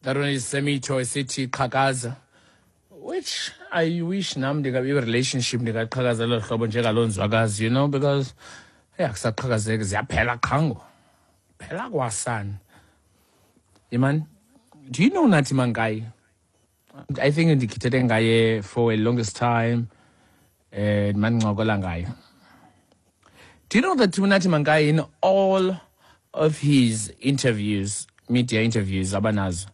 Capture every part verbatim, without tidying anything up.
That one is Semito esithi qhakaza, which I wish nam ndingabe relationship ndingaqhakaza lelo hlobo njengaloo nzwakazi, you know, because hey, akusaqhakazeki, ziyaphela qhango. Phela kwasana. Iman, do you know Nathi Mankayi? I think ndikhithethe ngaye for a longest time eh mandincokola ngaye. Do you know that Nathi Mankayi in all of his interviews, media interviews abanazo,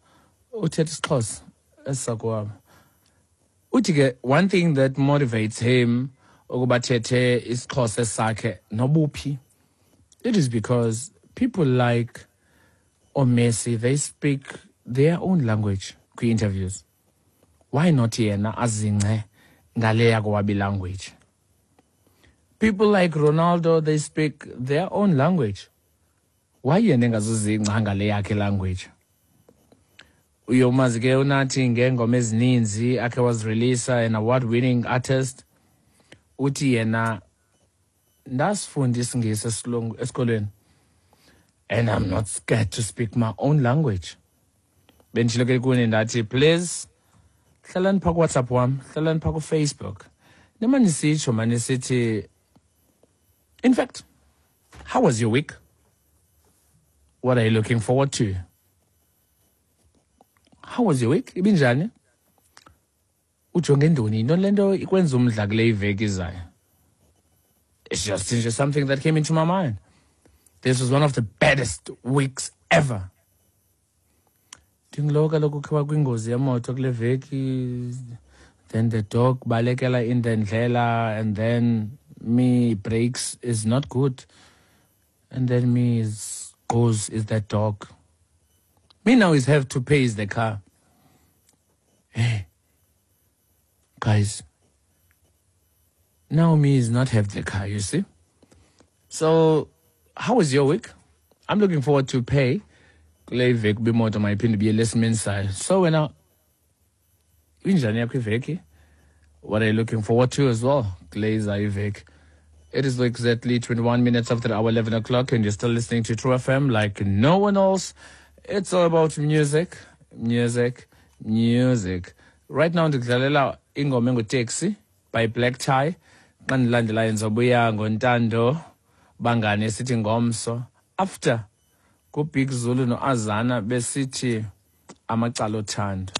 uthetha isiXhosa esisakwabo. Uthi ke one thing that motivates him ukuba thethe isiXhosa sakhe nobuphi, it is because people like oMessi, they speak their own language kwi-interviews. Why not yena azingce ngale yakowabo language? People like Ronaldo, they speak their own language. Why yena engazuzingca ngale yakhe language? Uyomazi ke uNathi ngeengoma ezininzi akhe wazireleasa, an award winning artist. Uthi yena ndasifunda isiNgesi esilungu esikolweni and I'm not scared to speak my own language. Benditshilo ke kuni ndathi please hlalani phaa kuWhatsApp wam, hlalani phaa kuFacebook. Nima nisitsho mani sithi, in fact, how was your week? What are you looking forward to? How was your week? Ibinjani? Ujonge ntoni? Yintoni le nto ikwenza umdla kule iveki izayo? It's just, it's just something that came into my mind. This was one of the baddest weeks ever. Ndingulo kaloku ukhe wakwingozi yemoto kule veki, then the dog balekela in the ndlela, and then me brakes is not good, and then me is goes is that dog. Me now is have to pay is the car. Hey, guys, now me is not have the car, you see. So, how was your week? I'm looking forward to pay. Kule iveki uba imoto mayiphinde ibuyele esimeni sayo. So wena, injani yakho iveki? What are you looking forward to as well? Kule izayo iveki. It is exactly twenty-one minutes after our eleven o'clock and you're still listening to True F M like no one else. It's all about music, music, music. Right now ndikudlalela ingoma enguTaxi by Black Tie. Xa ndilandelayo ndizobuya ngoNtando Bangane sithi ngomso. After kuBig Zulu noAzana besithi amacala othando.